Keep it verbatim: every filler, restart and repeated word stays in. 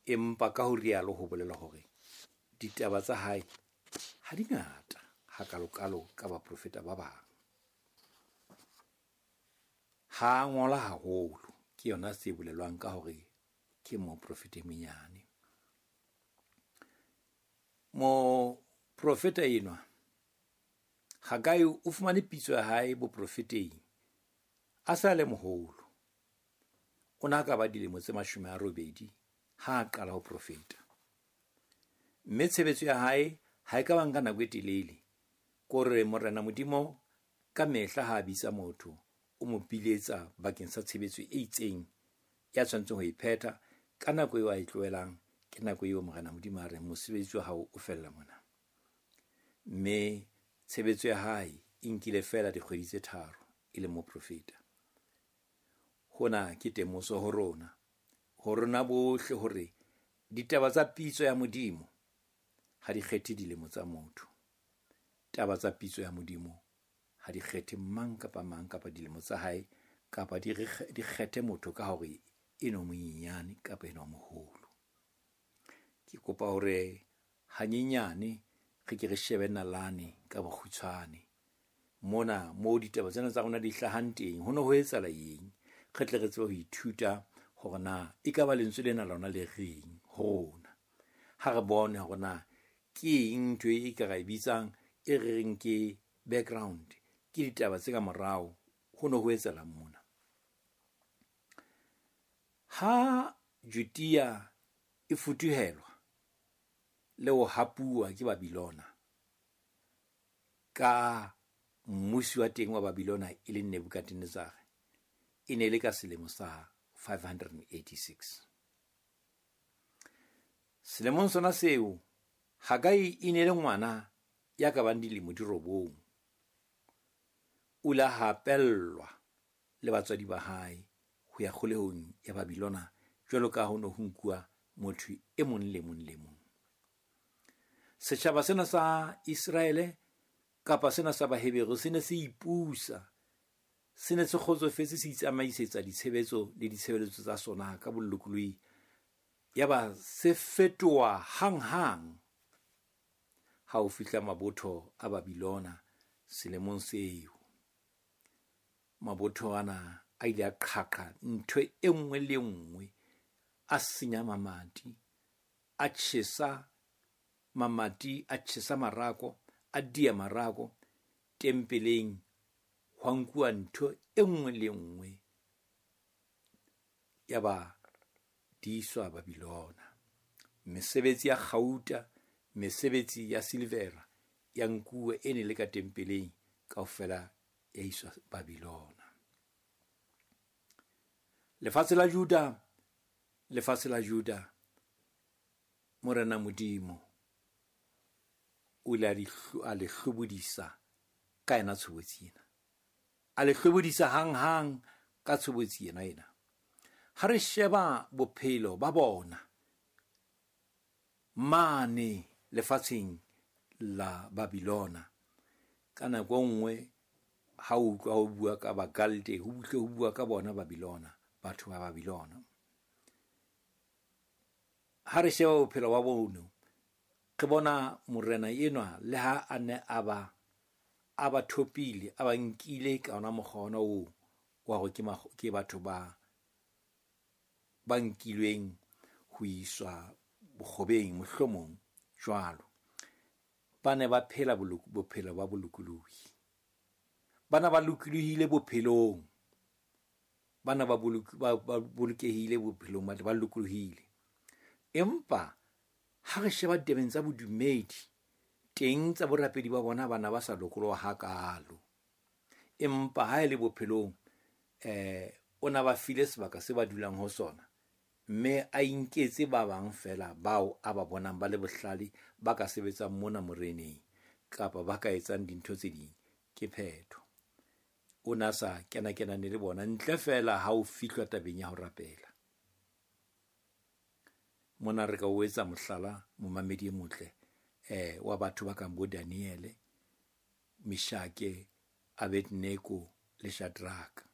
Empa ka ho rialo ho bolela hore ditaba tsa hae ha di ngata hakalokalo ka baprofeta ba bang. Ha ngola haholo, ke yona se bolelwang ka hore ke moprofeta e monyane. Moprofeta enwa Haggai o fumane pitso ya hae boprofeteng a sa le moholo. O na ka ba dilemo tse mashome a robedi ha a qala ho profeta. Mme tshebetso ya hae ha e ka ba nka nako e telele. Ko re Morena Modimo ka mehla ha a bitsa motho, o mo biletsa bakeng sa tshebetso e itseng ya tshwanetseng ho e phetha ka nako eo a e tlohelang, ke nako eo Morena Modimo a reng mosebetsi wa hao o fella mona. Mme tshebetso ya hae e nkile feela dikgwedi tse tharo e le moprofeta. Hona ke temoso ho rona, ho rona bohle hore ditaba tsa pitso ya Modimo ha di kgethe dilemo tsa motho. Taba tsa pitso ya Modimo ha di kgethe mang kapa mang kapa dilemo tsa hae kapa di di kgethe motho ka hore eno monyenyane kapa enwa moholo. Ke kopa hore hanyenyane re ke re shebe nalane ka bokgutshwane. Mona moo ditaba tsena tsa rona di hlahang teng, ho no ho etsahala eng? Re tle re tsebe ho ithuta hore na ekaba lentswe lena lona le reng ho rona. Ha re bone hore na ke eng ntho e ka ra e bitsang e re reng ke background, ke ditaba tse ka morao, ho no ho etsahalang mona. Ha Judea e futuhelwa le ho hapuwa ke Babylona ka mmusi wa teng wa Babylona e leng Nebuchadnezzar, e ne le ka selemo sa five hundred eighty-six. Selemong sona seo, Haggai e ne le ngwana ya ka bang dilemo di robong. O ile a hapellwa le batswadi ba hae ho ya kgolehong ya Babylona jwalo ka ho no ho nkuwa motho e mong le mong le mong. Setjhaba sena sa Iseraele kapa sena sa Baheberu se ne se ipusa, se ne se kgotsofetse, se itsamaisetsa ditshebetso le ditshebeletso tsa sona ka bolokolohi. Yaba se fetoha hanghang ha ho fihla mabotho a Babylona selemong seo. Mabotho ana a ile a qhaqha ntho e nngwe le nngwe, a senya mamati, a tjhesa mamati, a tjhesa marako, a dia marako tempeleng, hwa nkuwa ntho e nngwe le nngwe yaba di iswa Babylona. Mesebetsi ya kgauta, mesebetsi ya silvera ya nkuwa e ne le ka tempeleng kaofela ya iswa Babylona. Lefatshe la Juda, lefatshe la Juda, Morena Modimo o ile a le hlobodisa ka yena tshobotsi ena. A le hlobodisa hanghang ka tshobotsi ena ena. Ha re sheba bophelo ba bona mane lefatsheng la Babylona, ka nako nngwe ha o utlwa ho bua ka Bakalde, ho buhle ho bua ka bona Babylona, batho ba Babylona. Ha re sheba bophelo ba bona, re bona morena enwa le ha a ne a ba a ba thopile, a ba nkile ka ona mokgwa ona oo wa hore ke ke batho ba ba nkilweng ho iswa bokgobeng mohlomong jwalo. Ba ne ba phela bophelo ba bolokolohi. Bana ba lokolohile bophelong. Bana ba ba bolokehile bophelong, ba lokolohile. Empa ha re sheba ditabeng tsa bodumedi, teng tsa borapedi ba bona bana ba sa lokoloha hakalo. Empa ha e le bophelong, eh o na ba file sebaka se ba dulang ho sona, mme a inketse ba bang fela bao a ba bonang ba le bohlale ba ka sebetsang mona moreneng kapa ba ka etsang dintho tse ding, ke phetho. O na sa kena kenane le bona ntle fela ha o fihlwa tabeng ya ho rapela. Mona re ka o etsa mohlala momamedi e motle eh wa batho ba kang bo Daniele, Meshake, Abednego le Shadraka.